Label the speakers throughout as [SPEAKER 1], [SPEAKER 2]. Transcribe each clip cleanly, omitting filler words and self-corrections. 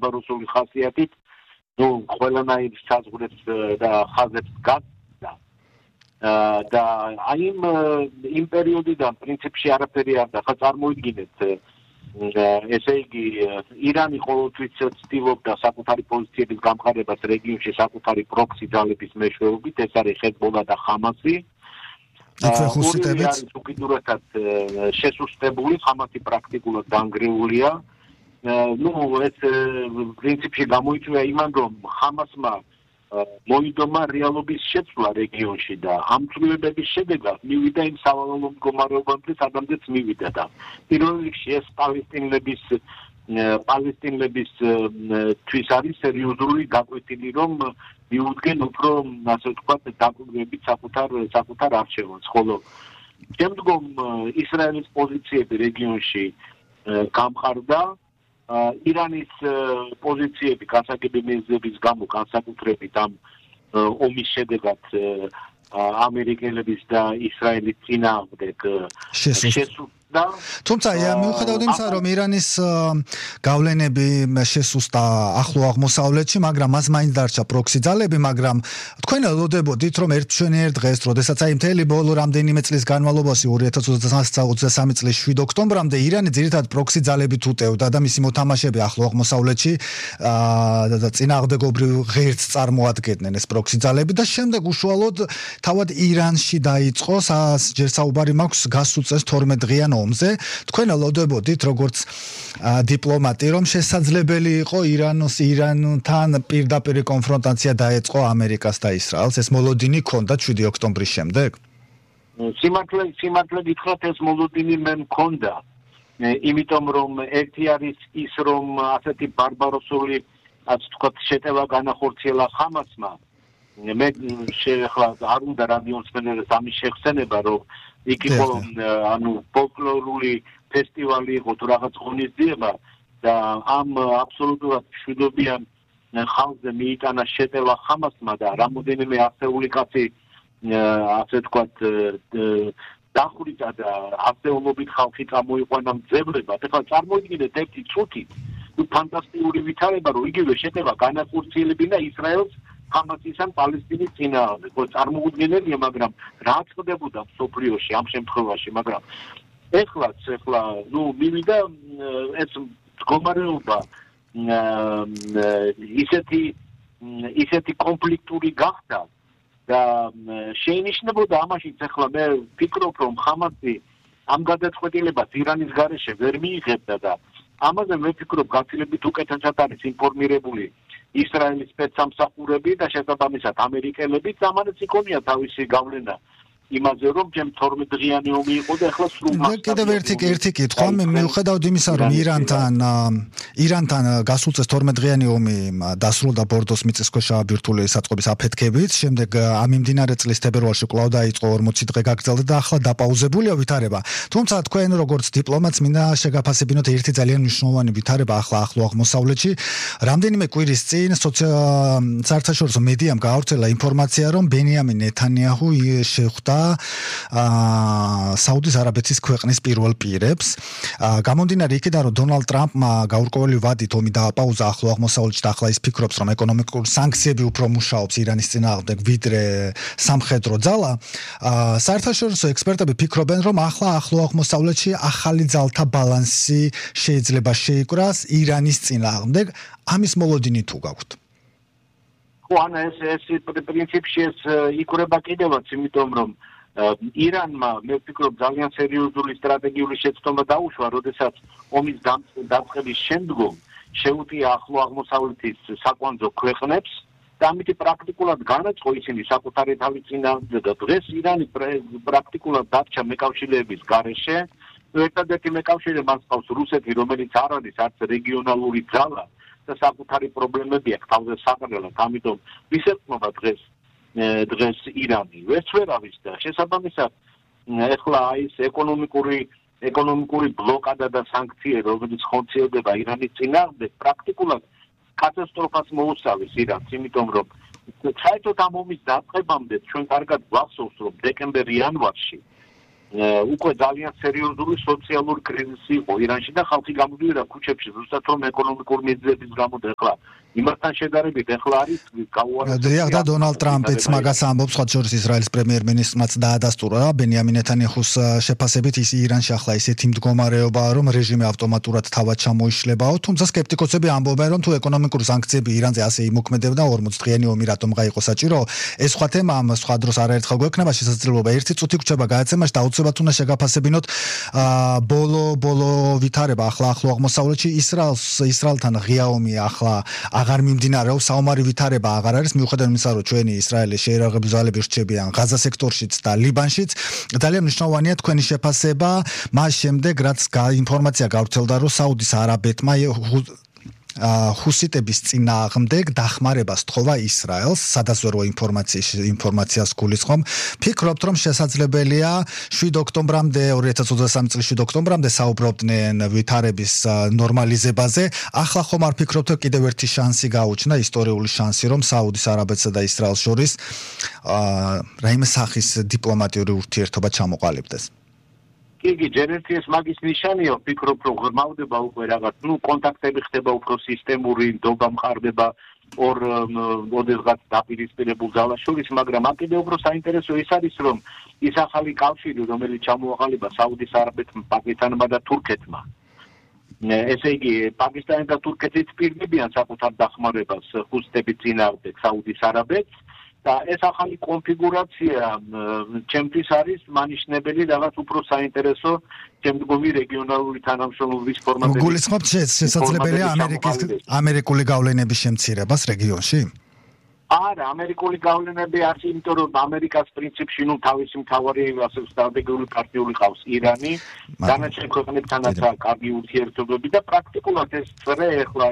[SPEAKER 1] ბარბაროსული ხასიათით, ყველანაირ საზღვრებს და ხაზებს გასცდა. და აი იმ პერიოდიდან პრინციპში არაფერი არ და ხა წარმოიდგინეთ ესე იგი ირანი ყოველთვის ცდილობდა საკუთარი პოზიციების გამყარებას რეგიონში საკუთარი პროქსი ძალების მეშვეობით, ეს არის ჰეზბოლა და ხამასი. ორივე არის უკიდურესად შესუსტებული, ხამასი პრაქტიკულად დანგრეულია. ეს პრინციპში გამოიწვია იმან, რომ ხამასმა მოიდომა რეალობის შეცვლა რეგიონში და ამ ცვლილებების შედეგად მივიდა იმ სავალალო მდგომარეობამდე, სადამდეც მივიდა და პირველ რიგში ეს პალესტინელების თვის არის სერიოზული გაკვეთილი, რომ მიუდგენ უფრო, ასე ვთქვათ, დაკვირვებით საკუთარ არჩევანს, ხოლო შემდგომ ისრაელის პოზიციები რეგიონში გამყარდა. ირანის პოზიციები გასაგები მიზნების გამო განსაკუთრებით ამ ომის შედეგად ამერიკელების და ისრაელის წინააღმდეგ შესუსტდა.
[SPEAKER 2] თუმცა მიუხედავად იმისა, რომ ირანის გავლენები შესუსტდა ახლო აღმოსავლეთში, მაგრამ მას მაინც დარჩა პროქსი ძალები, მაგრამ თქვენ ელოდებოდით, რომ ერთ დღეს, როდესაც აი მთელი ბოლო რამდენიმე წლის განმავლობაში 2023 წლის 7 ოქტომბრამდე ირანი ძირითადად პროქსი ძალებით უტევდა და მისი მოთამაშეები ახლო აღმოსავლეთში წინააღმდეგობრივ ღერთს წარმოადგენდნენ ეს პროქსი ძალები და შემდეგ უშუალოდ თავად ირანში დაიწყო, ჯერ საუბარი მაქვს გასულ წელს 12 დღიან ომზე. თქვენ ელოდებოდით, როგორც დიპლომატი, რომ შესაძლებელი იყო ირანთან პირდაპირ კონფრონტაცია დაეწყო ამერიკას და ისრაელს. ეს მოლოდინი ჰქონდა 7 ოქტომბრის შემდეგ?
[SPEAKER 1] სიმართლე გითხრათ, ეს მოლოდინი მე მქონდა. იმიტომ რომ ერთი არის ის, რომ ასეთი ბარბაროსული, ასე ვთქვათ, შეტევა განახორციელა ხამასმა. მე ახლა არ უნდა რადიოსმენელს ამის შეხსენება, რომ იქ იყო ფოლკლორული ფესტივალი იყო თუ რაღაც ღონისძიება და ამ აბსოლუტურად მშვიდობიან ხალხზე მიიტანა შეტევა ხამასმა და რამოდენიმე ასეული კაცი ასე ვთქვათ დახვრიტა და ასეულობით ხალხი წამოიყვანა მძებლებად. ახლა წარმოიდგინეთ ერთი წუთით ფანტასტიკური ვითარება, რომ იგივე შეტევა განახორციელებინა ისრაელს ხამასის ან პალესტინის წინააღმდეგ. წარმოუდგენელია, მაგრამ რა ხდებოდა მსოფლიოში ამ შემთხვევაში, მაგრამ ეხლა მივიდა ეს მდგომარეობა ისეთი კონფლიქტური გახდა და შეინიშნებოდა ამაშიც ახლა მე ვფიქრობ, რომ ხამასი ამ გადაწყვეტილებას ირანის გარეშე ვერ მიიღებდა და ამაზე მე ვფიქრობ, გაცილებით უკეთესად არის ინფორმირებული ისრაელის სპეცსამსახურები და შესაბამისად ამერიკელებიც ამანაც იქონია თავისი გავლენა იმაზე, რომ ჯერ 12 დღიანი ომი იყო და ახლა სრულ მასშტაბით.
[SPEAKER 2] კიდევ ერთი კითხვა, მიუხედავად იმისა, რომ ირანთან გასულ წელს 12 დღიანი ომი დასრულდა ბორდოს მიწისქვეშა ბირთვული საწყობის აფეთქებით, შემდეგ ამ მიმდინარე წლის თებერვალში კვლავ დაიწყო 40 დღე გაგრძელდა და ახლა დაპაუზებულია ვითარება. თუმცა თქვენ როგორც დიპლომატს მინდა შეგაფასებინოთ ერთი ძალიან მნიშვნელოვანი ვითარება ახლა ახლო აღმოსავლეთში. რამდენიმე კვირის წინ საერთაშორისო მედიამ გაავრცელა ინფორმაცია, რომ ბენიამინ ნეთანიაჰუ შეხვდა საუდის არაბეთის ქვეყნის პირველ პირებს. გამომდინარე იქიდან, რომ დონალდ ტრამპმა გაურკვეველი ვადით ომი დააპაუზა ახლო აღმოსავლეთში და ახლა ის ფიქრობს, რომ ეკონომიკური სანქციები უფრო მუშაობს ირანის წინააღმდეგ ვიდრე სამხედრო ძალა. საერთაშორისო ექსპერტები ფიქრობენ, რომ ახლა ახლო აღმოსავლეთში ახალი ძალთა ბალანსი შეიძლება შეიკრას ირანის წინააღმდეგ. ამის მოლოდინი თუ გაქვთ?
[SPEAKER 1] ეს პრინციპში ეს იკვრება კიდევაც, იმიტომ რომ ირანმა მე ვფიქრობ ძალიან სერიოზული სტრატეგიული შეცდომა დაუშვა, როდესაც ომის დაწყების შემდგომ შეუტია ახლო აღმოსავლეთის საკვანძო ქვეყნებს და ამით პრაქტიკულად განაწყო ისინი საკუთარი თავის წინააღმდეგ და დღეს ირანი პრაქტიკულად დარჩა მეკავშირეების გარეშე. ერთადერთი მეკავშირე მას ყავს რუსეთი, რომელიც არ არის არც რეგიონალური ძალა და საკუთარი პრობლემები აქვს თავზე საყრელად, ამიტომ ვისეწმობა დღეს ირანი ვერც ვერ არის და შესაბამისად ეხლა ის ეკონომიკური ბლოკადა და სანქციები, რომელიც ხორციელდება ირანის წინააღმდეგ, პრაქტიკულად კატასტროფას მოუსწავლის ირანს, იმიტომ რომ საერთოდ ამ ომის დაწყებამდე ჩვენ კარგად გვახსოვს, რომ დეკემბერ-იანვარში უკვე ძალიან სერიოზული სოციალური კრიზისი იყო ირანში და ხალხი გამოდიოდა ქუჩებში ზუსტად რომ ეკონომიკური მიზეზების გამო და ახლა იმასთან შედარებით ახლა არის გაუარესებული
[SPEAKER 2] და დონალდ ტრამპიც მაგას ამბობს სხვა შორის ისრაელის პრემიერ-მინისტრმაც დაადასტურა ბენიამინ ნეთანიაჰუს შეფასებით ის ირანში ახლა ისეთი მდგომარეობაა რომ რეჟიმი ავტომატურად თავად ჩამოიშლებაო თუმცა სკეპტიკოსები ამბობენ რომ თუ ეკონომიკური სანქციები ირანზე ასე იმოქმედებდა 40 დღიანი ომი რატომ გაიყო საჭირო ეს სხვა თემა ამ სხვა დროს არაერთხელ გვექნება შესაძლებლობა ერთი წუთი გვჭება გააცემაში და აუცილებლად უნდა შეგაფასებინოთ ბოლო ვითარება ახლა ახლო აღმოსავლეთში ისრაელთან ღია ომი ახლა აღარ მიმდინარეობს საომარი ვითარება აღარ არის მიუხედავად იმისა რომ ჩვენი ისრაელის შეერაღებული ძალები რჩებიან ღაზა სექტორშიც და ლიბანშიც ძალიან მნიშვნელოვანია თქვენი შეფასება მას შემდეგ რაც ინფორმაცია გავრცელდა რომ საუდის არაბეთმა ჰუსიტების წინააღმდეგ დახმარებას თხოვა ისრაელს, სადაზვერვო ინფორმაციას გულისხმობ. ფიქრობთ, რომ შესაძლებელია 7 ოქტომბრამდე 2023 წლის 7 ოქტომბრამდე საუბრობდნენ ვითარების ნორმალიზებაზე. ახლა ხომ არ ფიქრობთ, რომ კიდევ ერთი შანსი გაუჩნდა, ისტორიული შანსი, რომ საუდის არაბეთსა და ისრაელს შორის რაიმე სახის დიპლომატიური ურთიერთობა ჩამოყალიბდეს?
[SPEAKER 1] იგი ჯერერთი ეს მაგის ნიშანია, ვფიქრობ, რომ ღრმავდება უკვე რაღაც, კონტაქტები ხდება უფრო სისტემური, ნდობა მყარდება ორ ოდესღაც დაპირისპირებულ ძალას შორის, მაგრამ კიდევ უფრო საინტერესო ის არის, რომ ის ახალი კავშირი, რომელიც ჩამოაყალიბა საუდის არაბეთმა, პაკისტანმა და თურქეთმა. ესე იგი, პაკისტანი და თურქეთიც პირდებიან საკუთარ დახმარებას ჰუსიტების წინააღმდეგ საუდის არაბეთს. და ეს ახალი კონფიგურაცია ჩემთვის არის მანიშნებელი რაღაც უფრო საინტერესო შემდგომი რეგიონალური თანამშრომლობის ფორმატები.
[SPEAKER 2] გულისხმობთ შესაძლებელია ამერიკული გავლენების შემცირებას რეგიონში?
[SPEAKER 1] არა, ამერიკული გავლენები არის, იმიტომ რომ ამერიკას პრინციპში თავისი მთავარი სტრატეგიული პარტნიორი ყავს ირანი, დანარჩენ ქვეყნებთანაც კარგი ურთიერთობები და პრაქტიკულად ეს წრე ახლა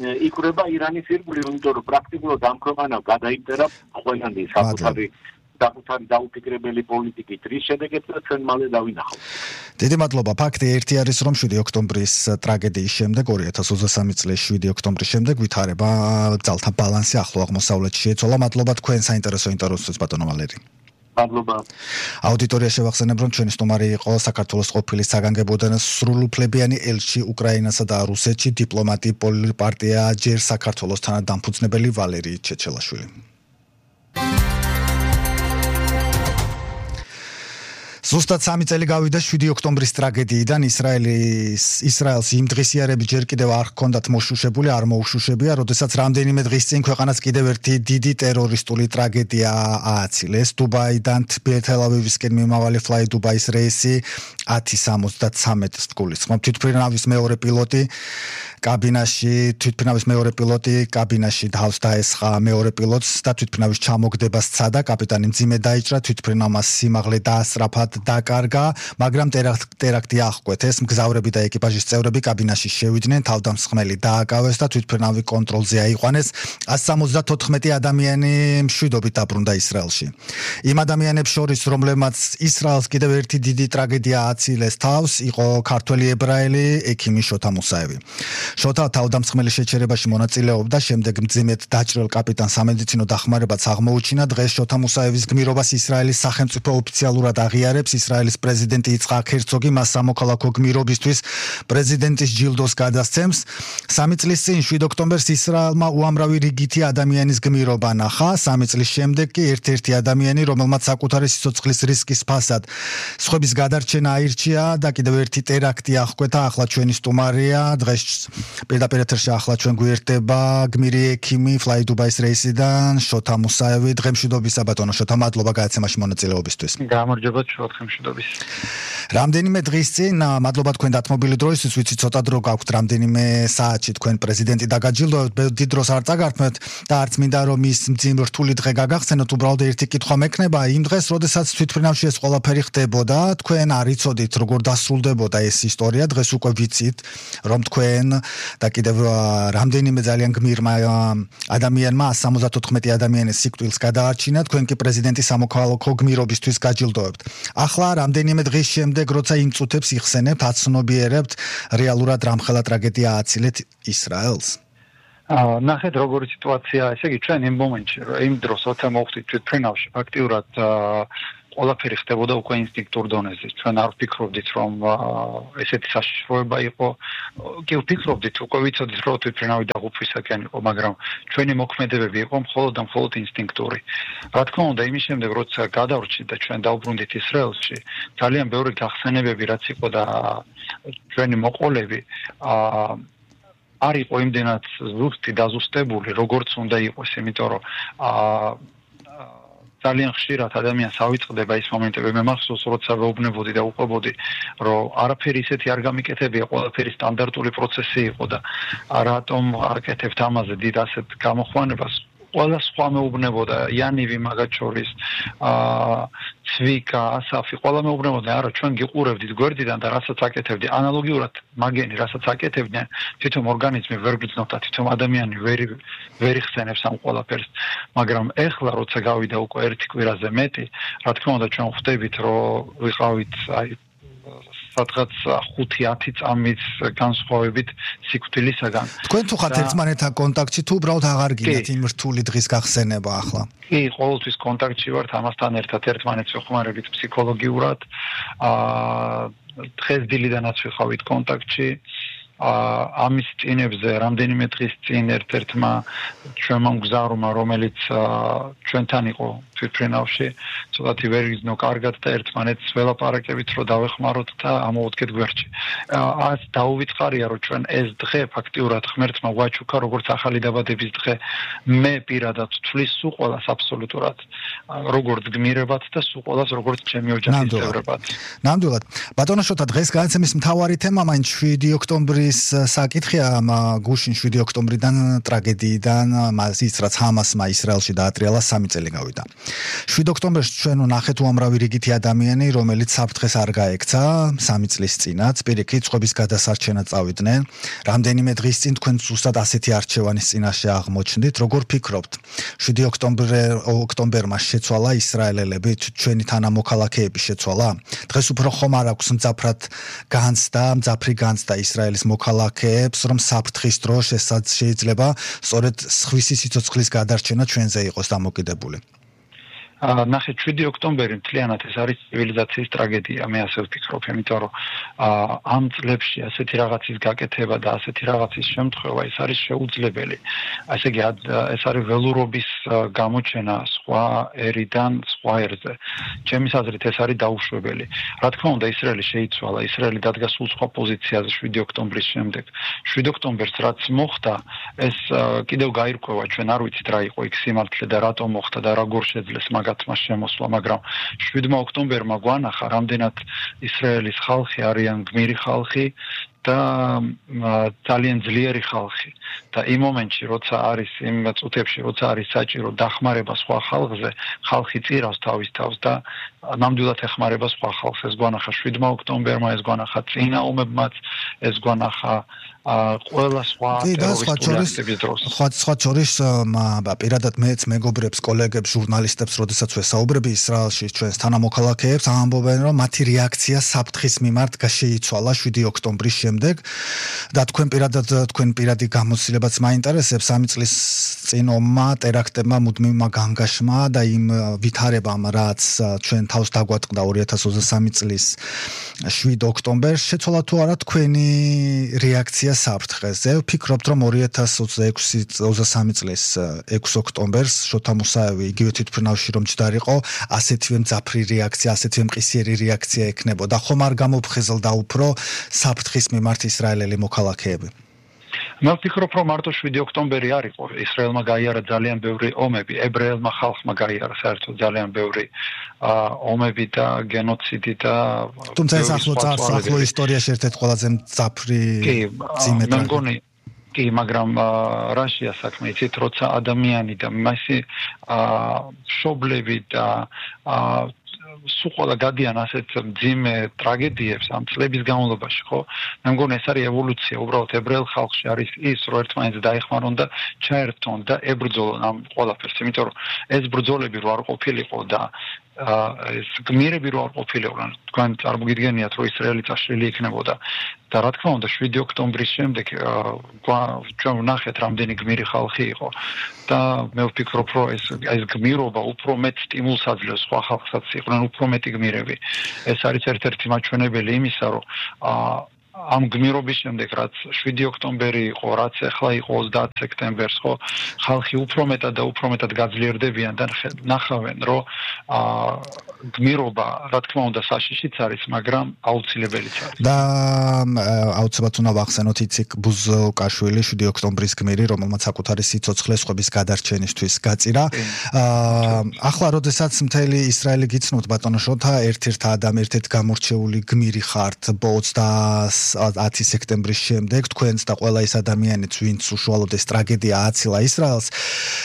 [SPEAKER 1] იქრება ირანის ირგვლივ, იმიტომ რომ პრაქტიკულად ამ ქვეყანამ გადაიწერა ყველანი საკუთარი დაუფიქრებელი პოლიტიკით, რის შედეგებსაც ჩვენ მალე დავინახავთ.
[SPEAKER 2] დიდი მადლობა. ფაქტი ერთი არის, რომ 7 ოქტომბრის ტრაგედიის შემდეგ 2023 წლის 7 ოქტომბრის შემდეგ ვითარება ძალთა ბალანსი ახლო აღმოსავლეთში შეეცვალა. მადლობა თქვენ საინტერესო ინტერვიუსთვის ბატონო ვალერი.
[SPEAKER 1] მადლობა.
[SPEAKER 2] აუდიტორია შევახსენებ, რომ ჩვენი სტუმარი იყო საქართველოს ყოფილი საგანგებოდან სრულუფლებიანი ელჩი უკრაინასა და რუსეთში დიპლომატი პოლიტპარტია ჯერ საქართველოსთან დამფუძნებელი ვალერი ჩეჩელაშვილი. ზუსტად 3 წელი გავიდა 7 ოქტომბრის ტრაგედიიდან ისრაელს იმ დღისიარები ჯერ კიდევ არ ჰქონდათ მოშუშებული, არ მოუშუშებია, როდესაც რამდენიმე დღის წინ ქვეყანას კიდევ ერთი დიდი ტერორისტული ტრაგედია ააცილეს. დუბაიდან თელ-ავივისკენ მიმავალი Fly Dubai-ის რეისი 10:73-ს გულისხმობ. თვითმფრინავის მეორე პილოტი კაბინაში თავს დაესხა მეორე პილოტს და თვითმფრინავის ჩამოგდება სცადა. კაპიტანი მძიმე დაიჭრა, თვითმფრინავმა სიმაღლე დაასწრაფა დაკარგა, მაგრამ ტერაქტი აღკვეთეს. მგზავრები და ეკიპაჟის წევრები კაბინაში შევიდნენ, თავდამსხმელი დააკავეს და თვითმფრინავი კონტროლზე აიყვანეს. 174 ადამიანი მშვიდობით დაბრუნდა ისრაელში. იმ ადამიანებს შორის, რომლებმაც ისრაელს კიდევ ერთი დიდი ტრაგედია აცილეს თავს, იყო ქართველი ებრაელი ექიმი შოთა მუსაევი. შოთა თავდამსხმელის შეჩერებაში მონაწილეობდა, შემდეგ მძიმედ დაჭრილ კაპიტანს სამედიცინო დახმარებაც აღმოუჩინა. დღეს შოთა მუსაევის გმირობას ისრაელის სახელმწიფო ოფიციალურად აღიარებს. ისრაელის პრეზიდენტი იცხაკ ჰერცოგი მას სამოქალაქო გმირობისთვის პრეზიდენტის ჯილდოს გადასცემს. 3 წლის წინ 7 ოქტომბერს ისრაელმა უამრავი რიგითი ადამიანის გმირობა ნახა. 3 წლის შემდეგ კი ერთ-ერთი ადამიანი, რომელმაც საკუთარი სიცოცხლის რისკის ფასად სხვების გადარჩენა აირჩია და კიდევ ერთი ტერაქტი აღკვეთა. ახლა ჩვენი სტუმარია, დღეს პირდაპირ ეთერში ახლა ჩვენ გვერდება გმირი ექიმი Fly Dubai-ის რეისიდან შოთა მუსაევი. დღემშვიდობისა ბატონო შოთა, მადლობა გადაცემაში მონაწილეობისთვის.
[SPEAKER 3] გამარჯობა დღემშვიდობის.
[SPEAKER 2] რამდენიმე დღის წინ, მადლობა თქვენ დათმობილი დროისთვის, ვიცი ცოტა დრო გაქვთ, რამდენიმე საათში თქვენ პრეზიდენტი დაგაჯილდოვებთ, დიდ დროს არ წაგართმევთ და არც მინდა რომ ის მძიმე რთული დღე გაგახსენოთ, უბრალოდ ერთი კითხვა მექნება, იმ დღეს, როდესაც თვითმფრინავში ეს ყველაფერი ხდებოდა, თქვენ არ იცოდით როგორ დასრულდებოდა ეს ისტორია, დღეს უკვე ვიცით, რომ თქვენ და კიდევ რამდენიმე ძალიან გმირმა ადამიანმა 174 ადამიანის სიკვდილს გადაარჩინა, თქვენ კი პრეზიდენტის სამოქალაქო გმირობისთვის გაჯილდოვებთ. ახლა რამდენიმე დღის შემდეგ, როცა იმ წუთებს იხსენებთ, აცნობიერებთ, რეალურად რამხელა ტრაგედია ააცილეთ ისრაელს?
[SPEAKER 3] ნახეთ როგორი სიტუაცია, ესე იგი ჩვენ იმ მომენტში, იმ დროს როცა მოვხდით თვითმფრინავში, ფაქტიურად ყველაფერი ხდებოდა უკვე ინსტინქტურ დონეზე. ჩვენ არ ვფიქრობდით, რომ ესეთი საშიშროება იყო. კი ვფიქრობდით, უკვე ვიცოდით, რომ თვითმფრინავი დაღუპვისაკენ იყო, მაგრამ ჩვენი მოქმედებები იყო მხოლოდ და მხოლოდ ინსტინქტური. რა თქმა უნდა, იმის შემდეგ, როცა გადავრჩით და ჩვენ დავბრუნდით ისრაელში, ძალიან ბევრი გახსენებები რაც იყო და ჩვენი მოყოლები არ იყო იმდენად ზუსტი დაზუსტებული, როგორც უნდა იყოს, იმიტომ რომ ძალიან ხშირად ადამიანს ავიწყდება ის მომენტები, მე მახსოვს, როცა ვეუბნებოდი და უყვებოდი, რომ არაფერი ისეთი არ გამიკეთებია, ყველაფერი სტანდარტული პროცესი იყო და რატომ აკეთებთ ამაზე დიდ ასეთ გამოხვანებას. ყველა სხვა მეუბნებოდა, იანივი მაგათ შორის, ცვიკა, ასაფი, ყველა მეუბნებოდა, არა, ჩვენ გიყურებდით გვერდიდან და რასაც აკეთებდი, ანალოგიურად მაგენი, რასაც აკეთებდნენ, თვითონ ორგანიზმი ვერ გრძნობდა, თვითონ ადამიანი ვერ იხსენებს ამ ყველაფერს, მაგრამ ეხლა როცა გავიდა უკვე ერთი კვირაზე მეტი, რა თქმა უნდა ჩვენ ხვდებით, რომ ვიყავით სადღაც 5-10 წამის განსხვავებით სიკვდილისაგან.
[SPEAKER 2] თქვენ თუ ხართ ერთმანეთთან კონტაქტში თუ უბრალოდ აღარ გინდათ იმ რთული დღის გახსენება ახლა?
[SPEAKER 3] კი, ყოველთვის კონტაქტში ვართ ამასთან ერთად ერთმანეთს ვეხმარებით ფსიქოლოგიურად. დღეს დილიდანაც ვიყავით კონტაქტში. ამის წინებზე რამდენიმე დღის წინ ერთ-ერთმა ჩვენმა მგზავრმა, რომელიც ჩვენთან იყო თვითმფრინავში, ცოტათი ვერ იზნო კარგად და ერთმანეთს ველაპარაკებით, რომ დავეხმაროთ და ამოვუდგეთ გვერდში. ას დაუვიწყარია, რომ ჩვენ ეს დღე ფაქტიურად ღმერთმა გვაჩუქა, როგორც ახალი დაბადების დღე. მე პირადად ვთვლის სულ ყველას აბსოლუტურად, როგორც გმირებად და სულ ყველას როგორც ჩემი ოჯახის წევრებად.
[SPEAKER 2] ნამდვილად. ბატონო შოთა, დღეს განაცემის მთავარი თემა მაინც 7 ოქტომბრის საკითხია, გუშინ 7 ოქტომბრიდან ტრაგედიიდან ის რაც ჰამასმა ისრაელში დაატრიალა 3 წელი გავიდა. 7 ოქტომბერს ჩვენ ვნახეთ უამრავი რიგითი ადამიანი, რომელიც საფრთხეს არ გაექცა 3 წლის წინაც, პირიქით წყობის გადასარჩენად წავიდნენ. რამდენიმე დღის წინ თქვენ ზუსტად ასეთი არჩევანის წინაშე აღმოჩნდით, როგორ ფიქრობთ? 7 ოქტომბერმა შეცვალა ისრაელელები, ჩვენი თანამოქალაქეები შეცვალა? დღეს უფრო ხომ არ აქვს მძაფრი განცდა ისრაელის მოქალაქეებს, რომ საფრთხის დროს შეიძლება სწორედ სხვისი სიცოცხლის გადარჩენა ჩვენზე იყოს დამოკიდებული.
[SPEAKER 3] ნახეთ 7 ოქტომბერი მთლიანად ეს არის ცივილიზაციის ტრაგედია, მე ასე ვფიქრობ, იმიტომ რომ ამ წლებში ასეთი რაღაცის გაკეთება და ასეთი რაღაცის შემთხვევა ეს არის შეუძლებელი. ასე იგი ეს არის ველურობის გამოჩენა სხვა ერიდან სხვა ერზე. ჩემის აზრით ეს არის დაუშვებელი. რა თქმა უნდა, ისრაელი შეიცვალა, ისრაელი დადგა სულ სხვა პოზიციაზე 7 ოქტომბრის შემდეგ. 7 ოქტომბერს რაც მოხდა, ეს კიდევ გაირკვევა, ჩვენ არ ვიცით რა იყო იქ სიმართლე და რატომ მოხდა და როგორ შეძლეს მაგათ მას შემოსვლა, მაგრამ 7 ოქტომბერმა გვანახა, რამდენად ისრაელის ხალხი არიან გმირი ხალხი და ძალიან ძლიერი ხალხი. და იმ მომენტში, როცა არის იმ წუთებში, როცა არის საჭირო დახმარება სხვა ხალხზე, ხალხი წირავს თავის თავს და ნამდვილად ეხმარება სხვა ხალხს. ეს გვანახა 7 ოქტომბერმა, ეს გვანახა წინა ომებმაც, ეს გვანახა ყველა სხვა ტერორისტული აქტების დროს.
[SPEAKER 2] სხვა შორის პირადად მეც მეგობრებს, კოლეგებს, ჟურნალისტებს, როდესაც ვესაუბრები ისრაელში ჩვენს თანამოქალაქეებს, ამბობენ, რომ მათი რეაქცია საფრთხის მიმართ შეიცვალა 7 ოქტომბრის შემდეგ და თქვენ პირადი გამოცდილებაც მაინტერესებს 3 წლის წინ ომმა, ტერაქტებმა, მუდმივმა განგაშმა და იმ ვითარებამ, რაც ჩვენ თავს დაგვატყდა 2023 წლის 7 ოქტომბერს, შეცვალა თუ არა თქვენი რეაქცია საფრთხეზე? ვფიქრობთ, რომ 2023 წლის 6 ოქტომბერს შოთა მუსაევი იგივე თვითმფრინავში რომ ჯდარიყო, ასეთივე მძაფრი რეაქცია, ასეთივე მყისიერი რეაქცია ექნებოდა. ხომ არ გამოფხიზლდა უფრო საფრთხის მიმართ ისრაელელი მოქალაქეები?
[SPEAKER 3] მე ვფიქრობ, რომ მარტო 7 ოქტომბერი არ იყო. ისრაელმა გაიარა ძალიან ბევრი ომები, ებრაელმა ხალხმა გაიარა საერთოდ ძალიან ბევრი ომები და გენოციდი და
[SPEAKER 2] თუმცა ეს ახლო ისტორიაში ერთ-ერთი ყველაზე მძაფრი ძიმე ტრაგედია.
[SPEAKER 3] კი, მაგრამ რაშია საქმე, იცით, როცა ადამიანი და მასი მშობლები და სულ ყველა გადიან ასეთ მძიმე ტრაგედიებს ამ წლების განმავლობაში, ხო? მე მგონი ეს არის ევოლუცია, უბრალოდ ებრაელ ხალხში არის ის, რომ ერთმანეთს დაეხმარონ და ჩაერთონ და ებრძოლონ ამ ყველაფერს, იმიტომ რომ ეს ბრძოლები რო არ ყოფილიყო და ეს გმირები რო არ ყოფილიყვნენ თქვენ წარმოგიდგენიათ რომ ისრაელი წაშლილი იქნებოდა და რა თქმა უნდა 7 ოქტომბრის შემდეგ ჩვენ ვნახეთ რამდენი გმირი ხალხი იყო და მე ვფიქრობ რომ ეს გმირობა უფრო მეტ სტიმულს აძლევს სხვა ხალხსაც იყვნენ უფრო მეტი გმირები ეს არის ერთ-ერთი მაჩვენებელი იმისა რომ ამ გმირობის შემდეგ რაც 7 ოქტომბერი იყო, რაც ახლა იყო 30 სექტემბერს, ხო, ხალხი უფრო მეტად გაძლიერდებიან და ნახავენ, რომ გმირობა, რა თქმა უნდა, საშიშიც არის, მაგრამ აუცილებელიც არის.
[SPEAKER 2] და აუცილებლად უნდა ვახსენოთ იციკ ბუზოკაშვილი 7 ოქტომბრის გმირი, რომელმაც საკუთარი სიცოცხლე სხვების გადარჩენისთვის გაწირა. ახლა როდესაც მთელი ისრაელი გიცნობთ ბატონო შოთა, ერთ-ერთ გამორჩეული გმირი ხართ 10 სექტემბრის შემდეგ თქვენც და ყველა ის ადამიანიც ვინც უშუალოდ ეს ტრაგედია აცილა ისრაელს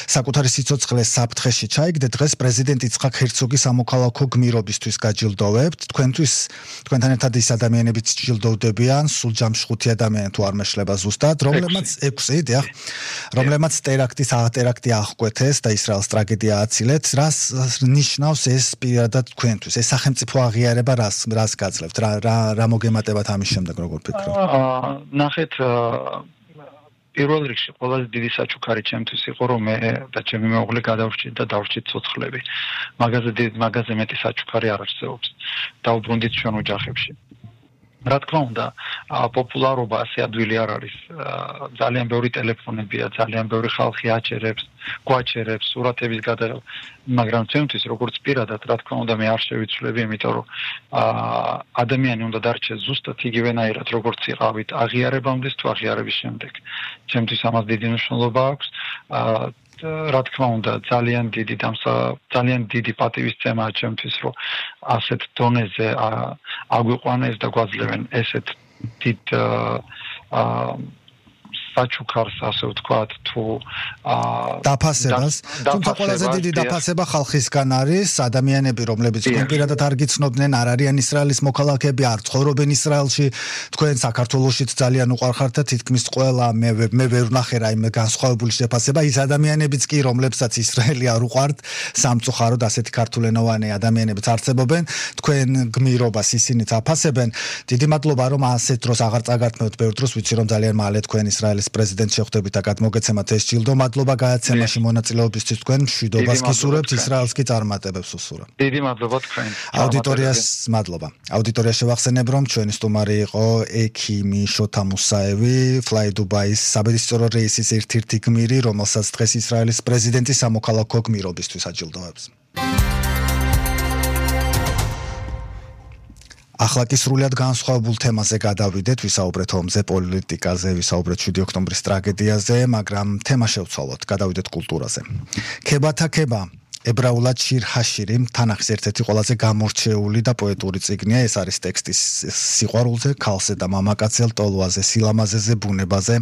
[SPEAKER 2] საკუთარი სიცოცხლეს საფრთხეში ჩაიგდეთ დღეს პრეზიდენტ იცხაკ ჰერცოგი სამოქალაქო გმირობისთვის გაჯილდოვებთ თქვენთან ერთად ის ადამიანებიც ჯილდოვდებიან სულ ჯამში 5 ადამიანი თუ არ მეშლება ზუსტად რომლებმაც 6 დიახ რომლებმაც ტერაქტი აღკვეთეს და ისრაელს ტრაგედია აცილეთ რას ნიშნავს ეს პირადად თქვენთვის ეს სახელმწიფო აღიარება რას გაძლევთ რა მოგემატებათ ამის შემდეგ როგორ
[SPEAKER 3] ნახეთ პირველ რიგში ყველაზე დიდი საჩუქარი ჩემთვის იყო რომ მე და ჩემი მეუღლე გადავრჩით და დავრჩით ცოცხლები მაგაზე მეტი საჩუქარი არ არსებობს დაუბრუნდით ჩვენ ოჯახებში რა თქმა უნდა პოპულარობა ასე ადვილი არ არის ძალიან ბევრი ტელეფონებია ძალიან ბევრი ხალხი გვაჩერებს სურათების გადაღება მაგრამ ჩემთვის როგორც პირადად რა თქმა უნდა მე არ შევიცვლები იმიტომ რომ ადამიანი უნდა დარჩეს ზუსტად იგივენაირად როგორც იყავით აღიარებამდე თუ აღიარების შემდეგ ჩემთვის ამას დიდი მნიშვნელობა აქვს რა თქმა უნდა ძალიან დიდი პატივისცემაა ჩემთვის რომ ასეთ დონეზე აგვიყვანეს და გვაძლევენ ესეთ დიდ საჩუქარს ასე ვთქვათ თუ
[SPEAKER 2] დაფასებას თუმცა ყველაზე დიდი დაფასება ხალხისგან არის ადამიანები რომლებიც კონკრეტულად არ გიცნობდნენ არ არიან ისრაელის მოქალაქეები არ ცხოვრობენ ისრაელში თქვენ საქართველოშიც ძალიან უყვარხართ და თითქმის ყველა მე ვერ ვნახე რაიმე განსხვავებული შეფასება ის ადამიანებიც კი რომლებსაც ისრაელი არ უყვართ სამწუხაროდ ასეთი ქართულენოვანი ადამიანებიც არსებობენ თქვენ გმირობას ისინიც აფასებენ დიდი მადლობა რომ ასეთ დროს აღარ წაგართმევთ ბევრ დროს ვიცი რომ ძალიან მალე თქვენ ისრაელის პრეზიდენტ შეხვდებით და გადმოგეცემათ ეს ჯილდო მადლობა გადაცემაში მონაწილეობისთვის თქვენ მშვიდობას გისურვებთ ისრაელს კი წარმატებებს უსურვებთ
[SPEAKER 3] დიდი მადლობა თქვენ
[SPEAKER 2] აუდიტორიას მადლობა აუდიტორია შევახსენებ რომ ჩვენი სტუმარი იყო ექიმი შოთა მუსაევი Fly Dubai-ის საბედისწერო რეისის ერთ-ერთი გმირი რომელსაც დღეს ისრაელის პრეზიდენტი სამოქალაქო გმირობისთვის აჯილდოვებს ახლა კი სრულიად განსხვავებულ თემაზე გადავიდეთ, ვისაუბრეთ ომზე, პოლიტიკაზე, ვისაუბრეთ 7 ოქტომბრის ტრაგედიაზე, მაგრამ თემა შევცვალოთ, გადავიდეთ კულტურაზე. ქება ებრაულად შირ ჰაშირი თანახის ერთ-ერთი ყველაზე გამორჩეული და პოეტური წიგნია, ეს არის ტექსტი სიყვარულზე, ქალზე და მამაკაცზე, ლტოლვაზე, სილამაზეზე, ბუნებაზე.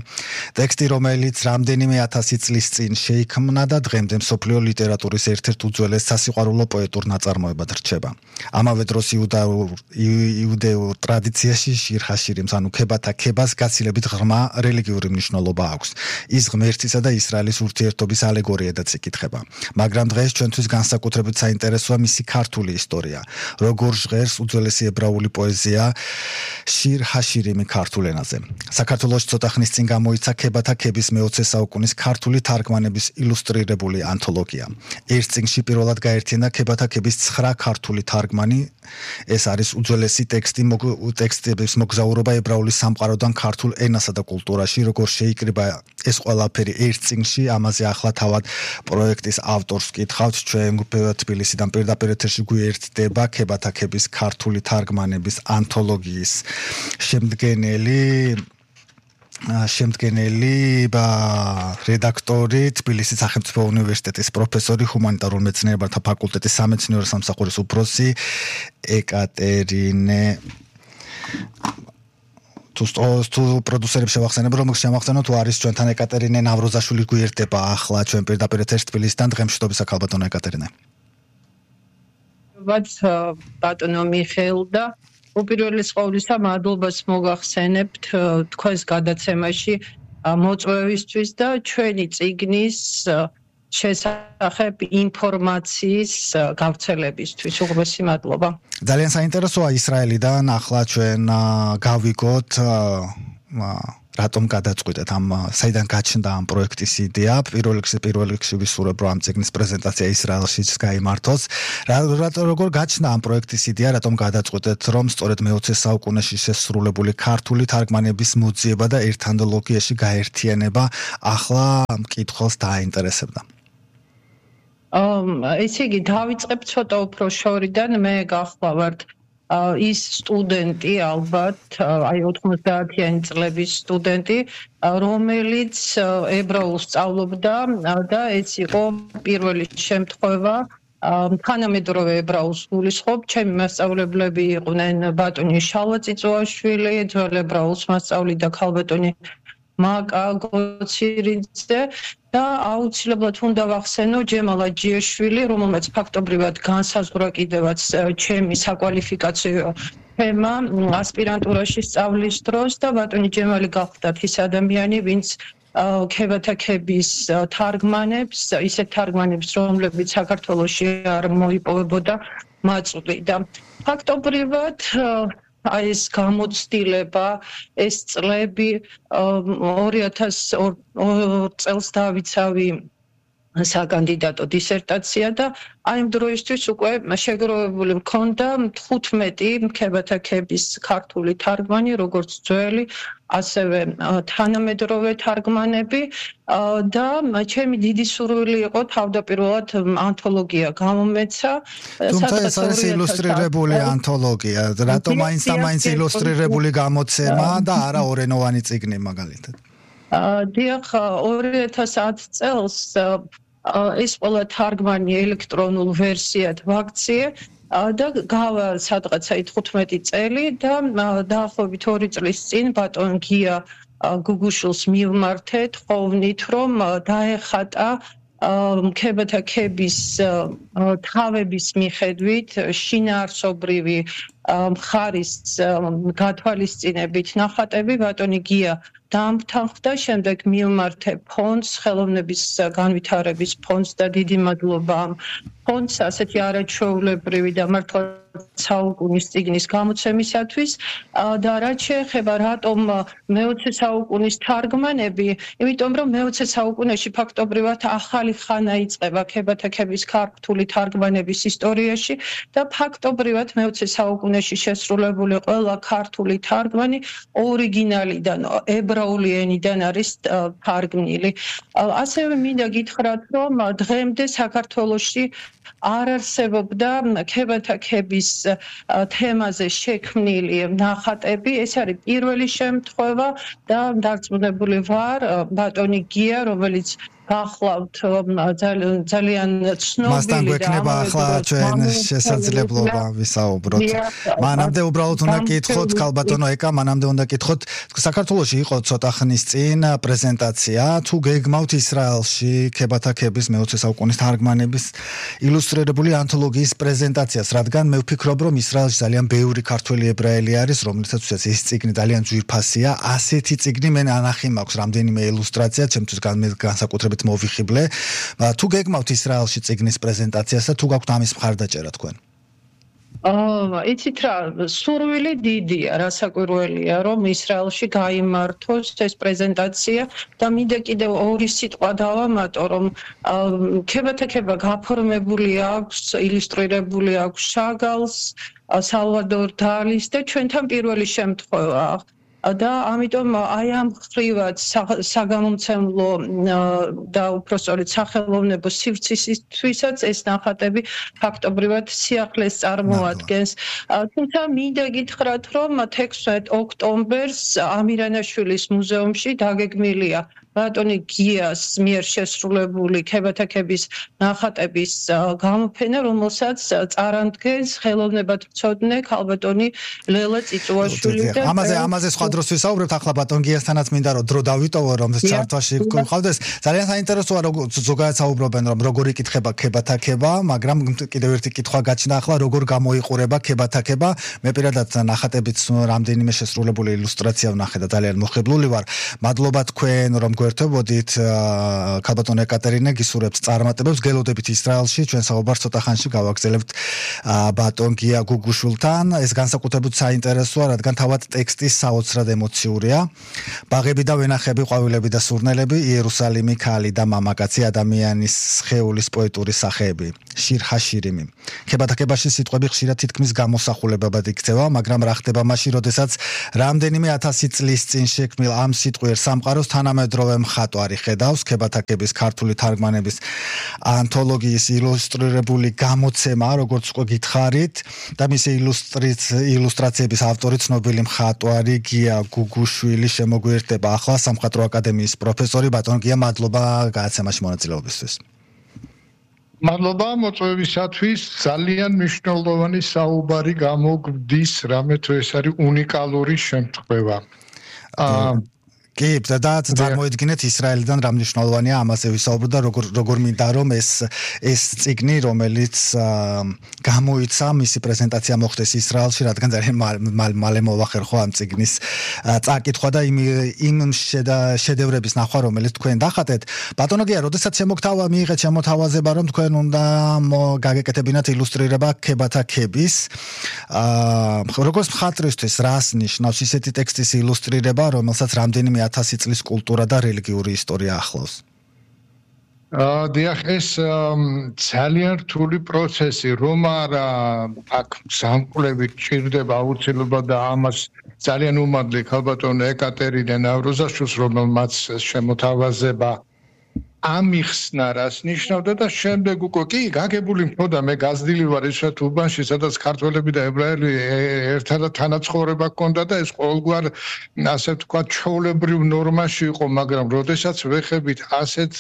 [SPEAKER 2] ტექსტი, რომელიც რამდენიმე 1000 წლის წინ შეიქმნა და დღემდე მსოფლიო ლიტერატურის ერთ-ერთ უძველეს სასიყვარულო პოეტურ ნაწარმოებად რჩება. ამავე დროს იუდეურ ტრადიციაში შირ ჰაშირიმს, ანუ ქებას გაცილებით ღრმა რელიგიური მნიშვნელობა აქვს. ის ღმერთისა და ისრაელის ურთიერთობის ალეგორიადაც იკითხება. მაგრამ დღეს ჩვენთვის განსაკუთრებით საინტერესოა მისი ქართული ისტორია. როგორ ჟღერს უძველესი ებრაული პოეზია შირ ჰაშირიმი ქართულ ენაზე. საქართველოში ცოტა ხნის წინ გამოიცა ქებათა ქების მე-20 საუკუნის ქართული თარგმანების ილუსტრირებული ანთოლოგია. ერთ წიგნში პირველად გაერთიანდა ქებათა ქების 9 ქართული თარგმანი. ეს არის უძველესი ტექსტების მოგზაურობა ებრაული სამყაროდან ქართულ ენასა და კულტურაში, როგორ შეიკრიბა ეს ყველაფერი ერთ წიგნში, ამაზე ახლა თავად პროექტის ავტორს ვკითხავთ, ჩვენ თბილისიდან პირდაპირ ეთერში გვერდდება ქებათა ქების ქართული თარგმანების ანთოლოგიის შემდგენელი რედაქტორი თბილისის სახელმწიფო უნივერსიტეტის პროფესორი ჰუმანიტარულ მეცნიერებათა ფაკულტეტის სამეცნიერო სამსახურის უფროსი ეკატერინე თუ პროდიუსერებს შევახსენებ რომ შემახსენოთ თუ არის ჩვენთან ეკატერინე ნავროზაშვილი გვერდდება ახლა ჩვენ პირდაპირ ეთერში თბილისიდან დღემშვიდობის ახალბატონო ეკატერინე
[SPEAKER 4] ბატონო მიხეილ და უპირველეს ყოვლისა მადლობას მოგახსენებთ თქვენს გადაცემაში მოწვევისთვის და ჩვენი წიგნის შესახებ ინფორმაციის გავრცელებისთვის. უღრმესი მადლობა.
[SPEAKER 2] ძალიან საინტერესოა ისრაელიდან ახლა ჩვენ გავიგოთ რატომ გადაწყვიტეთ ამ საიდან გაჩნდა ამ პროექტის იდეა პირველ რიგში ვისურვებ რომ ამ წიგნის პრეზენტაცია ისრაელშიც გაიმართოს როგორ გაჩნდა ამ პროექტის იდეა რატომ გადაწყვიტეთ რომ სწორედ მე-20 საუკუნეში შესრულებული ქართული თარგმანების მოძიება და ერთ ანთოლოგიაში გაერთიანება ახლა მკითხველს დააინტერესებდა
[SPEAKER 4] ესე იგი დავიწყებ ცოტა უფრო შორიდან მე გახლავართ ის სტუდენტი ალბათ აი 90-იანი წლების სტუდენტი რომელიც ებრაულს სწავლობდა და ეს იყო პირველი შემთხვევა თანამედროვე ებრაულს გულისხმობ ჩემი მასწავლებლები იყვნენ ბატონი შალვა წიწუაშვილი ძველ ებრაულს მასწავლიდა ქალბატონი მაკა გოცირიძე და აუცილებლად უნდა ვახსენო ჯემალ აჯიაშვილი, რომელმაც ფაქტობრივად განსაზღვრა კიდევაც ჩემი საკვალიფიკაციო თემა ასპირანტურაში სწავლის დროს და ბატონი ჯემალი გახლდათ ის ადამიანი, ვინც ქებათაკების თარგმანებს, ისეთ თარგმანებს, რომლებიც საქართველოში არ მოიპოვებოდა მაწვდი და ფაქტობრივად აი ეს გამოცდილება, ეს წლები 2002 წელს დავიცავი საკანდიდატო დისერტაცია და აი ამ დროისთვის უკვე შეგროვებული მქონდა 15 ქებათაკების ქართული თარგმანი, როგორც ძველი, ასევე თანამედროვე თარგმანები და ჩემი დიდი სურვილი იყო თავდაპირველად ანთოლოგია გამომეცა.
[SPEAKER 2] თუმცა ეს არის ილუსტრირებული ანთოლოგია, რატომ მაინც ილუსტრირებული გამოცემა და არა ორენოვანი წიგნი მაგალითად?
[SPEAKER 4] დიახ, 2010 წელს ეს ყველა თარგმანი ელექტრონულ ვერსიად ვაქციე და გავა სადღაცა 15 წელი და დაახლოებით 2 წლის წინ ბატონ გია გუგუშვილს მივმართეთ ხოვნით რომ დაეხატა ქებათაკების თავების მიხედვით შინაარსობრივი მხარის გათვალისწინებით ნახატები ბატონი გია დამთანხმდა შემდეგ მივმართე ფონდს ხელოვნების განვითარების ფონდს და დიდი მადლობა ამ ფონდს ასეთი არაჩვეულებრივი და მართლა საუკუნის წიგნის გამოცემისათვის და რაც შეეხება რატომ მე-20 საუკუნის თარგმანები, იმიტომ რომ მე-20 საუკუნეში ფაქტობრივად ახალი ხანა იწყება ქებათაკების ქართული თარგმანების ისტორიაში და ფაქტობრივად მე-20 საუკუნეში შესრულებული ყველა ქართული თარგმანი ორიგინალიდან ებრაული ენიდან არის თარგმნილი. ასევე მინდა გითხრათ, რომ დღემდე საქართველოში არ არსებობდა ქებათაკების თემაზე შექმნილი ნახატები. ეს არის პირველი შემთხვევა და დარწმუნებული ვარ ბატონი გია, რომელიც გახლავთ ძალიან ცნობილი
[SPEAKER 2] მასთან გვექნება ახლა ჩვენ შესაძლებლობა ვისაუბროთ. მანამდე უბრალოდ უნდა გითხოთ ქალბატონო ეკა, მანამდე უნდა გითხოთ საქართველოში იყო ცოტა ხნის წინ პრეზენტაცია, თუ გეგმავთ ისრაელში ქებათაკების მე-20 საუკუნის თარგმანების ილუსტრირებული ანთოლოგიის პრეზენტაციას, რადგან მე ვფიქრობ, რომ ისრაელში ძალიან ბევრი ქართველი ებრაელი არის, რომლითაც ეს წიგნი ძალიან ძვირფასია. ასეთი წიგნი მე ანახი მაქვს რამდენიმე ილუსტრაცია, ჩემთვის განსაკუთრებით მოვიხიბლე. თუ გეგმავთ ისრაელში წიგნის პრეზენტაციას და თუ გაქვთ ამის მხარდაჭერა თქვენ?
[SPEAKER 4] იცით რა, სურვილი დიდია, რასაკვირველია, რომ ისრაელში გაიმართოს ეს პრეზენტაცია და მინდა კიდევ ორი სიტყვა დავამატო, რომ ქებათაკება გაფორმებული აქვს, ილუსტრირებული აქვს შაგალს, სალვადორ დალის და ჩვენთან პირველი შემთხვევაა. და ამიტომ აი ამ ხრივად საგამომცემლო და უпростоრით სახელოვნებო სივრცისთვისაც ეს ნახატები ფაქტობრივად სიახლეს წარმოადგენს. თუმცა მინდა გითხრათ, რომ 16 ოქტომბერს ამირანაშვილის მუზეუმში დაგეგმილია ბატონი გიას მიერ შესრულებული ქებათაკების ნახატების გამოფენა, რომელსაც წარადგენს ხელოვნებათმცოდნე ქალბატონი ლელა წიწუაშვილი და
[SPEAKER 2] ამაზე სხვა დროს ვისაუბრებთ, ახლა ბატონ გიასთანაც მინდა რომ დრო დავიტოვო, რომ ჩართვაში გყავდეს. ძალიან საინტერესოა რომ ზოგადად საუბრობენ რომ როგორ იკითხება ქებათაკება, მაგრამ კიდევ ერთი კითხვა გაჩნდა ახლა როგორ გამოიყურება ქებათაკება. მე პირადად ნახატებით რამდენიმე შესრულებული ილუსტრაცია ვნახე და ძალიან მოხიბლული ვარ. მადლობა თქვენ რომ გვერდებოდით ქალბატონი ეკატერინე გისურვებთ წარმატებებს გელოდებით ისრაელში ჩვენ საუბარს ცოტა ხანში გავაგზავნებთ ბატონ გია გუგუშვილთან ეს განსაკუთრებით საინტერესოა რადგან თავად ტექსტი საოცრად ემოციურია ბაღები და ვენახები ყვავილები და სურნელები იერუსალიმი ქალი და მამაკაცი ადამიანის სხეულის პოეტური სახეები შირჰაშირიმი ქებათაკებაში სიტყვები ხშირად თითქმის გამოსახულებად იქცევა მაგრამ რა ხდება მაშინ როდესაც რამდენიმე 1000 წლის წინ შექმნილ ამ სიტყვიერ სამყაროს თანამედროვე მხატვარი ხედავს ქებათაკების ქართული თარგმანების ანთოლოგიის ილუსტრირებული გამოცემა როგორც უკვე გითხარით და მისი ილუსტრაციების ავტორი ცნობილი მხატვარი გია გუგუშვილი შემოგვიერთდება ახლა სამხატვრო აკადემიის პროფესორი ბატონ გია მადლობა გადაცემაში მონაწილეობისთვის
[SPEAKER 5] მადლობა მოწვევისათვის ძალიან მნიშვნელოვანი საუბარი გამოგვდის რამე თუ ეს არის უნიკალური შემთხვევა
[SPEAKER 2] კი და წარმოიდგინეთ ისრაელიდან რა მნიშვნელოვანია ამაზე ვისაუბროთ და როგორ მინდა რომ ეს წიგნი რომელიც გამოიცა მისი პრეზენტაცია მოხდეს ისრაელში რადგან ძალიან მალე მოვახერხო ამ წიგნის წაკითხვა და იმ შედევრების ნახვა რომელიც თქვენ დახატეთ ბატონო გია როდესაც მიიღეთ შემოთავაზება რომ თქვენ უნდა გაგეკეთებინათ ილუსტრირება ქებათაკების როგორც მხატვრისთვის რას ნიშნავს ისეთი ტექსტის ილუსტრირება რომელსაც რამდენიმე 1000 წლის კულტურა და რელიგიური ისტორია ახლავს.
[SPEAKER 5] დიახ ეს ძალიან რთული პროცესი რომ არა აქ სამკვლევი ჭირდება აუცილებლად და ამას ძალიან უმადლი ქალბატონ ეკატერინე ნავროზაშვილს რომელმაც შემოთავაზება ამიხსნა რას ნიშნავდა და შემდეგ უკვე კი გაგებული მქონდა მე გაზრდილი ვარ ისეთ უბანში სადაც ქართველები და ებრაელი ერთადაც თანაცხოვრება ჰქონდა და ეს ყოველგვარ ასე ვთქვათ ჩვეულებრივ ნორმაში იყო მაგრამ როდესაც ვეხებით ასეთ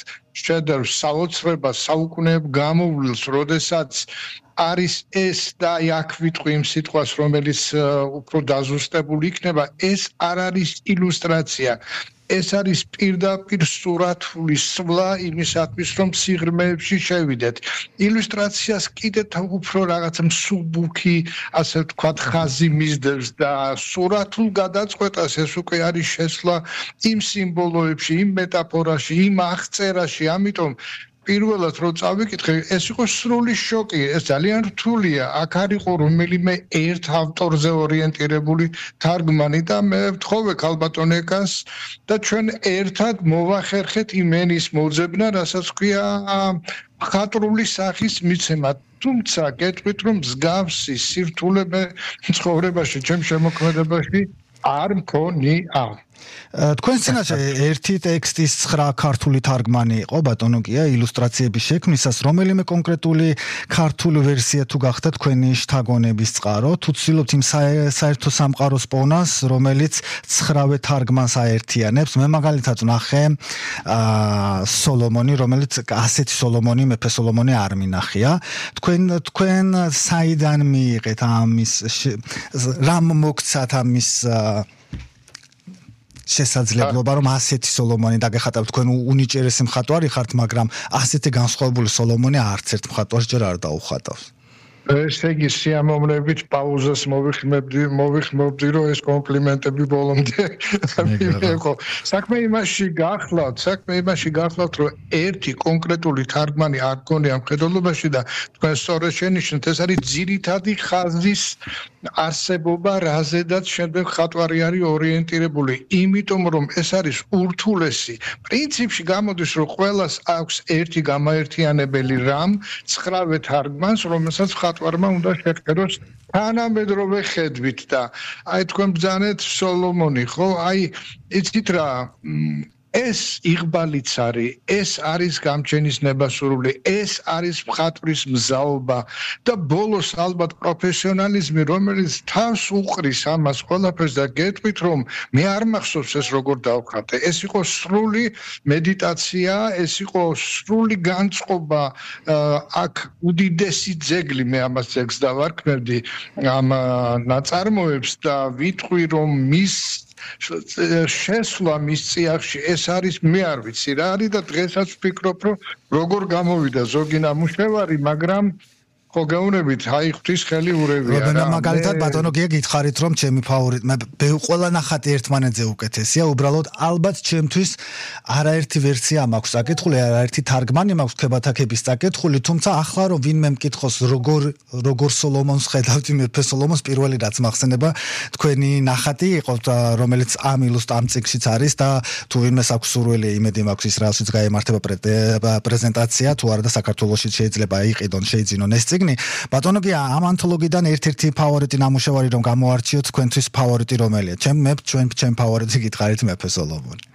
[SPEAKER 5] შედევრს საოცრებას საუკუნეებ გამოვლილს როდესაც არის ეს და აქ ვიტყვი იმ სიტყვას რომელიც უფრო დაზუსტებული იქნება ეს არ არის ილუსტრაცია ეს არის პირდაპირ სურათული სვლა იმისათვის რომ სიღრმეებში შევიდეთ ილუსტრაციას კიდევ უფრო რაღაც მსუბუქი ასე ვთქვათ ხაზი მისდევს და სურათულ გადაწყვეტას ეს უკვე არის შესვლა იმ სიმბოლოებში იმ მეტაფორაში იმ აღწერაში ამიტომ პირველად რომ წავიკითხე ეს იყო სრული შოკი ეს ძალიან რთულია აქ არ იყო რომელიმე ერთ ავტორზე ორიენტირებული თარგმანი და მე ვთხოვე ქალბატონ ეკას და ჩვენ ერთად მოვახერხეთ იმენის მოძებნა რასაც ქვია მხატვრული სახის მიცემა თუმცა გეტყვით რომ მსგავსი სირთულე ცხოვრებაში ჩემ შემოქმედებაში არ მქონია
[SPEAKER 2] თქვენ წინაშე ერთი ტექსტის 9 ქართული თარგმანი იყო ბატონო გია ილუსტრაციების შექმნისას რომელიმე კონკრეტული ქართული ვერსია თუ გახდა თქვენი შთაგონების წყარო თუ ცდილობთ იმ საერთო სამყაროს პოვნას რომელიც 9-ვე თარგმანს აერთიანებს მე მაგალითად ვნახე სოლომონი რომელიც ასეთი სოლომონი მეფე სოლომონი არ მინახია თქვენ საიდან მიიღეთ ამის რამ მოგცათ ამის შესაძლებლობა რომ ასეთი სოლომონი დაგეხატავთ თქვენ უნიჭერესი მხატვარი ხართ მაგრამ ასეთი განსხვავებული სოლომონი არც ერთ მხატვარს ჯერ არ დაუხატავს
[SPEAKER 5] ესე იგი სიამოვნებით პაუზას მოვიხმობდი რომ ეს კომპლიმენტები ბოლომდე მიიღო საქმე იმაში გახლავთ რომ ერთი კონკრეტული თარგმანი არ გქონია მხედველობაში და თქვენ სწორედ შენიშნეთ ეს არის ძირითადი ხაზის არსებობა რაზედაც შემდეგ ხატვარი არის ორიენტირებული იმიტომ რომ ეს არის ურთულესი პრინციპში გამოდის რომ ყველას აქვს ერთი გამაერთიანებელი რამ 9-ვე თარგმანს რომელსაც ხატვარმა უნდა შეხედოს თანამედროვე ხედვით და აი თქვენ ბრძანეთ სოლომონი ხო აი იცით რა ეს იღბალიც არის, ეს არის გამჩენის ნებასურველი, ეს არის მხატვრის მზაობა და ბოლოს ალბათ პროფესიონალიზმი, რომელიც თავს უყრის ამას ყველაფერს და გეტყვით რომ მე არ მახსოვს ეს როგორ დავხატე. ეს იყო სრული მედიტაცია, ეს იყო სრული განწყობა, აქ უდიდესი ძეგლი მე ამას ძეგლს დავარქმევდი ამ ნაწარმოებს და ვიტყვი რომ მის შესვლა მის წიაღში ეს არის მე არ ვიცი რა არის და დღესაც ვფიქრობ რომ როგორ გამოვიდა ზოგი ნამუშევარი მაგრამ ხო გეუბნებით, აი ღვთის ხელი ურევია
[SPEAKER 2] რა. მაგალითად ბატონო გია გითხარით რომ ჩემი ფავორიტი, მე ყველა ნახატი ერთმანეთზე უკეთესია, უბრალოდ ალბათ ჩემთვის არაერთი ვერსია მაქვს საკითხული, არაერთი თარგმანი მაქვს ქებათაკების საკითხული, თუმცა ახლა რომ ვინმე მკითხოს როგორ სოლომონს ხედავთ, მეფე სოლომონს პირველი რაც მახსენება თქვენი ნახატი იყო, რომელიც ამ წიგნშიც არის და თუ ვინმეს აქვს სურვილი, იმედი მაქვს ისრაელშიც გაემართება პრეზენტაცია, თუ არა და საქართველოშიც შეიძლება იყიდონ, შეიძინონ ეს წიგნი. ბატონო გია, ამ ანთოლოგიიდან ერთ-ერთი ფავორიტი ნამუშევარი რომ გამოარჩიოთ, თქვენთვის ფავორიტი რომელია? ჩვენ ფავორიტი გითხარით მეფე სოლომონი.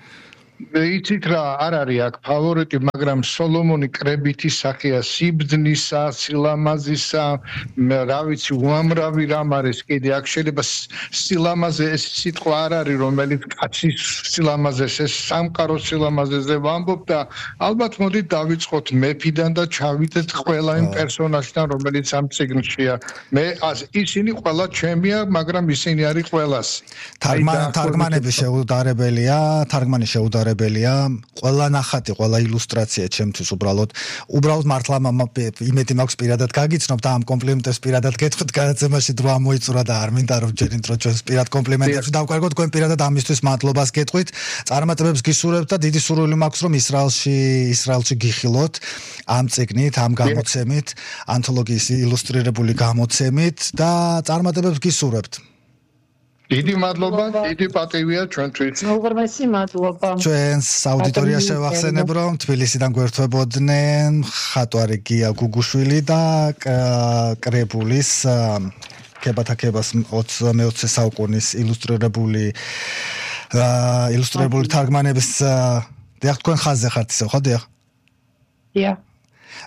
[SPEAKER 5] იცით რა, არ არის აქ ფავორიტი, მაგრამ სოლომონი კრებითი სახეა, სიბრძნისა, სილამაზისა, რა ვიცი, უამრავი რამ არის კიდე. აქ შეიძლება სილამაზე ეს სიტყვა არ არის, რომელიც კაცის სილამაზეს, ეს სამყაროს სილამაზეზე ვამბობ და ალბათ მოდით დავიწყოთ მეფიდან და ჩავიდეთ ყველა იმ პერსონაჟთან, რომელიც ამ წიგნშია. მე ისინი ყველა ჩემია, მაგრამ ისინი არის ყველასი.
[SPEAKER 2] თარგმანები შეუდარებელია, ყველა ნახატი, ყველა ილუსტრაცია ჩემთვის უბრალოდ მართლა იმედი მაქვს პირადად გაგიცნობ და ამ კომპლიმენტებს პირადად გეტყვით, გადაცემაში დრო ამოიწურა და არ მინდა რომ ჯერით რომ ჩვენს პირად კომპლიმენტებს დავკარგოთ, თქვენ პირადად ამისთვის მადლობას გეტყვით, წარმატებებს გისურვებთ და დიდი სურვილი მაქვს რომ ისრაელში გიხილოთ ამ წიგნით, ამ გამოცემით, ანთოლოგიის ილუსტრირებული გამოცემით და წარმატებებს გისურვებთ.
[SPEAKER 5] დიდი მადლობა, დიდი პატივია ჩვენთვის.
[SPEAKER 4] უღრმესი მადლობა.
[SPEAKER 2] ჩვენს აუდიტორიას შევახსენებ, რომ თბილისიდან გვერდთვებოდნენ ხატვარი გია გუგუშვილი და კრებულის ქებათაკებას მე-20 საუკუნის ილუსტრირებული თარგმანების დიახ, თქვენ ხაზზე ხართ ისევ, ხო დიახ?
[SPEAKER 4] დიახ.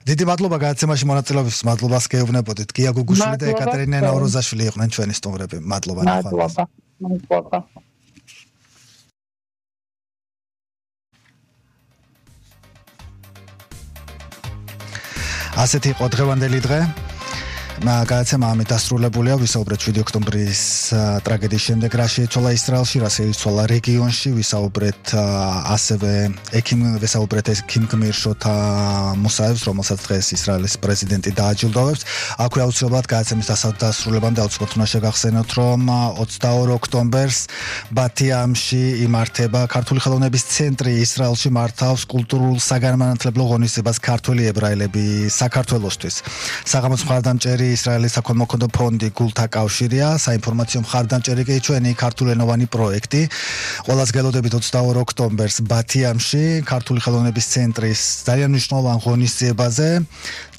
[SPEAKER 2] დიდი მადლობა გადაცემაში მონაწილეობის, მადლობას გეუბნებოდით. გია გუგუშვილი და ეკატერინე ნაუროზაშვილი იყვნენ ჩვენი სტუმრები. მადლობა.
[SPEAKER 4] მადლობა.
[SPEAKER 2] ასეთი იყო დღევანდელი დღე. გადაცემა ამით დასრულებულია, ვისაუბრეთ 7 ოქტომბრის ტრაგედიის შემდეგ რა შეიცვალა ისრაელში, რა შეიცვალა რეგიონში, ვისაუბრეთ ექიმ გმირშოთა მუსაევს, რომელსაც დღეს ისრაელის პრეზიდენტი დააჯილდოვებს. აქვე აუცილებლად გადაცემის დასრულებამდე აუცილებლად უნდა შეგახსენოთ, რომ 22 ოქტომბერს ბათიამში იმართება ქართული ხელოვნების ცენტრი, ისრაელში მართავს კულტურულ საგანმანათლებლო ღონისძიებას ქართველი ებრაელები საქართველოსთვის. საღამოს მხარდამჭერი ისრაელის საქველმოქმედო ფონდი გულთა კავშირია, საინფორმაციო მხარდამჭერი კი ჩვენი ქართულენოვანი პროექტი. ყველას გელოდებით 22 ოქტომბერს ბათიამში ქართული ხელოვნების ცენტრის ძალიან მნიშვნელოვან ღონისძიებაზე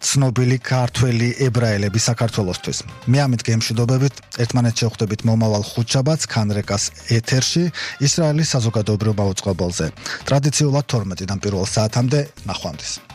[SPEAKER 2] ცნობილი ქართველი ებრაელები საქართველოსთვის. მე ამით გემშვიდობებით, ერთმანეთს შევხვდებით მომავალ ხუთშაბათს ქანრეკას ეთერში ისრაელის საზოგადოებრივ მაუწყებელზე. ტრადიციულად 12-დან პირველ საათამდე ნახვამდის.